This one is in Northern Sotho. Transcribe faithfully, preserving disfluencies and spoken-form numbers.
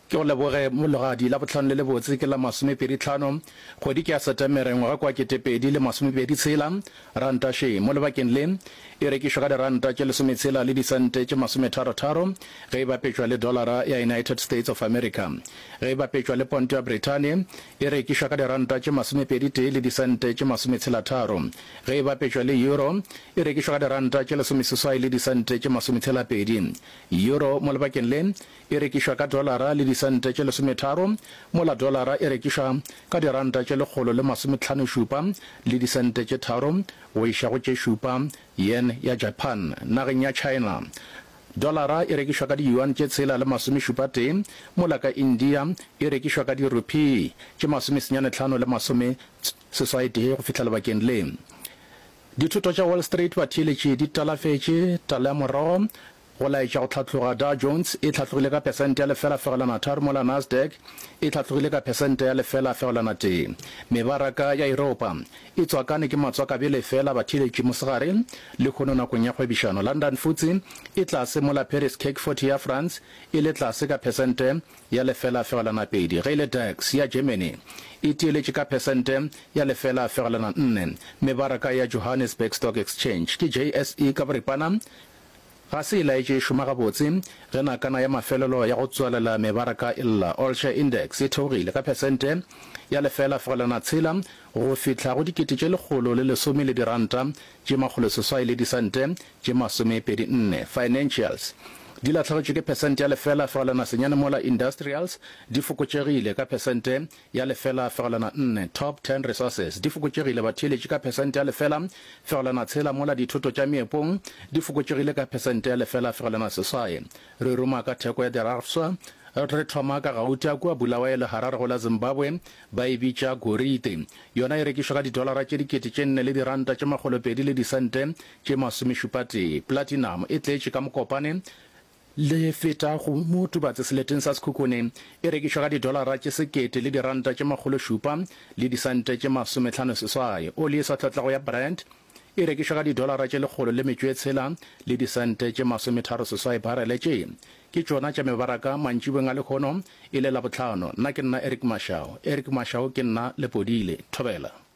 Ke go leboge Mologadi. Labohlano le lebotse ke la masomepedi tlhano, kgwedi ke ya Setemere, ngwaga kwa ketepedi le masomepedi tshela. Ranta še mo lebakeng le e rekišwa ka diranta tše lesometshela le disente tše masometharo-tharo ge e bapetšwa le dolara ya United States of America. Ge e bapetšwa le ponto ya Brithani e rekišwa ka diranta tše masomepedi tee le disente tše masometshela-tharo. Ge e bapetšwa le euro e rekišwa ka diranta tše lesomeseswai le disente tše masometshela-pedi. Euro mo lebakeng le e rekišwa ka dolara le disente tše lesometharo, mola dolara e rekišwa ka diranta tše lekgolo le masometlhano-šupa le disente tše tharo go iša go tše šupa. Yen ya Japan. Nageng ya China, dolara e rekišwa ka di-yuan tše tshela le masomešupa-tee, mola ka India e rekišwa ka di-rupee tše masomesenyane-tlhano le masomeseswai-tee go fihla lebakeng le. Dithoto tša Wall Street batheeletši di talafetše tala ya morogo go laetša go hlatloga. Dow Jones e hlatlogile ka phesente ya lefela fegelwana tharo mola Nasdaq e hlatlogile ka phesente ya lefela fegelwana tee. Mebaraka ya Yuropa e tswakane ke matswakabele fela batheeletši mosegare lehono nakong ya kgwebišano. London F T S E e tlase mola Paris CAC forty ya France e le tlase ka phesente ya lefela fegelwana pedi. Ge e le DAX ya Germany e tieletše ka phesente ya lefela fegelwana nne. Mebaraka ya Johannesburg Stock Exchange ke J S E ka boripana ga se e laetše e šoma gabotse ge nakana ya mafelelo ya go tswalela mebaraka e lla. All Share Index e theogile ka phesente ya lefela fegelwana tshela go fihla go dikete tše lekgolo le lesome le diranta tše makgolo seswai le disente tše masomepedi nne. Financials di lahlegetšwe ke phesente ya lefela fegelwana senyane mola industrials di fokotšegile ka phesente ya lefela fegelwana nne. Top ten Resources di fokotšegile batheeletši ka phesente ya lefela fegelwana tshela mola dithoto tša meepong di fokotšegile ka phesente ya lefela fegelwana seswai. Re ruma ka theko ya dirafswa, re thoma ka gauta kua Bulawayo le Harare go la Zimbabwe ba e bitša gorite. Yona e rekišwa ka didolara tše dikete tše nne le diranta tše makgolopedi le disente tše masomešupatee. Platinum e tletše ka Mokopane le feta go Motubatse seleteng sa Sekhukhune e rekišwa ka didolara tše sekete le diranta tše makgolo šupa le disente tše masometlhano seswai. Oli e sa tlotlago ya Brent e rekišwa ka didolara tše lekgolo le metšo e tshela le disente tše masometharo seswai barele. Tše ke tšona tša mebaraka mantšibeng a lehono e le Labohlano. Nna ke nna Eric Mashau. Eric Mashau ke nna Lepodile. Thobela.